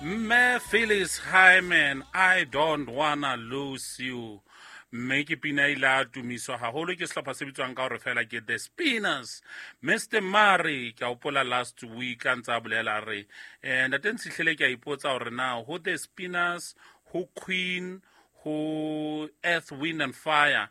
Mme Phyllis Hyman, "I Don't Wanna Lose You", mme ke pina ile a tumiswa haholo ke sehlopha se bitswang ka hore fela ke The Spinners. Mr Murray, ke a hopola last week a ntse a bolela re ntate Ntshihlele, ke a ipotsa hore na ho The Spinners, ho Queen, ho Earth, Wind and Fire,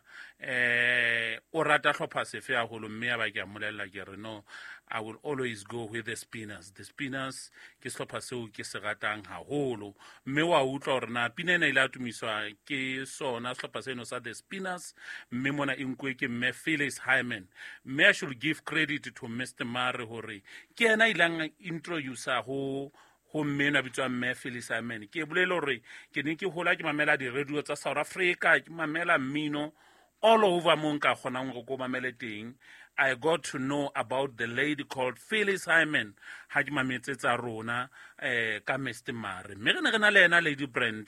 o rata hlopha sefe haholo? Mme ya ba ke a mmolella, ke re, "No, I will always go with The Spinners. The Spinners ke sehlopha seo ke se ratang haholo." Mme wa utlwa hore na pina ena ile a tumiswa ke sona sehlopha seno sa The Spinners, mme mona e nkuwe ke mme Phyllis Hyman. Mme I should give credit to Mr Murray hore ke yena a ileng introducer ho mme eno a bitswang mme Phyllis Hyman. Ke bolele hore ke ne ke hola ke mamela di-radio tsa South Africa, ke mamela mmino all over mo nka kgonang hore ko mamele teng. I got to know about the lady called Phyllis Hyman ha ke mametse tsa rona ka Mr Mare. Mme re ne re na le ena Lady Brand,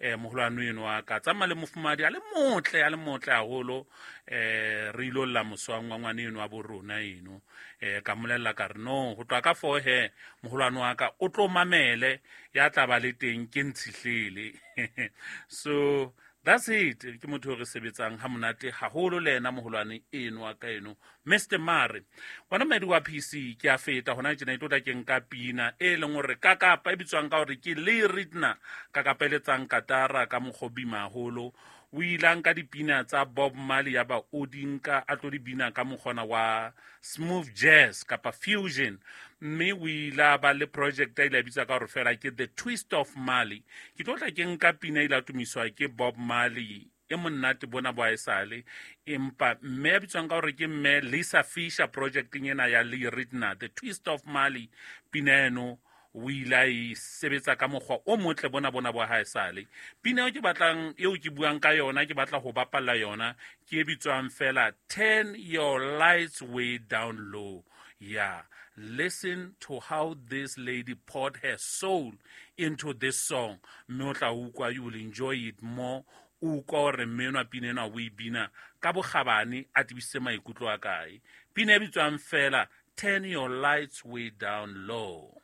moholwane eno wa ka tsamaya le mofumadi a le motle, a le motle haholo. Re ilo lla moswang wa ngwane eno wa bo rona eno. Ka mmolella ka re, "No, ho tloha ka fo he, moholwane wa ka o tlo mamele ya tla ba le teng ke Ntshihlele." So that's it. Ke motho o re sebetsang ha monate haholo le ena moholwane eno wa ka eno, Mr Mare. Wona moedi wa PC ke a feta hona tjena, e tlo tla ke nka pina e leng hore kakapa e bitswang ka hore ke Le Ritna, kakapa e letsang katara ka mokgwa o bima haholo. O ile a nka dipina tsa Bob Marley, ya ba o di nka a tlo di bina ka mokgona wa smooth jazz kapa fusion. Mme o ile a ba le project a ile a bitsa ka hore fela ke The Twist of Marley. Ke tlo tla ke nka pina e ile a tumiswa ke Bob Marley e monate bona bo esale, empa mme a bitswang ka hore ke mme Lisa Fisher projecteng ena ya Lee Ritner, The Twist of Marley, pina eno o ile a e sebetsa ka mokgwa o motle bona bo ha esale. Pina eo ke batlang, eo ke buang ka yona, ke batla ho bapalla yona, ke e bitswang fela "Turn Your Lights Way Down Low". Yeah, listen to how this lady poured her soul into this song, mme o tla utlwa, you will enjoy it more. O utlwa hore mme enwa pina ena o e bina ka bokgabane, a tebisitse maikutlo a kae. Pina e bitswang fela "Turn Your Lights Way Down Low".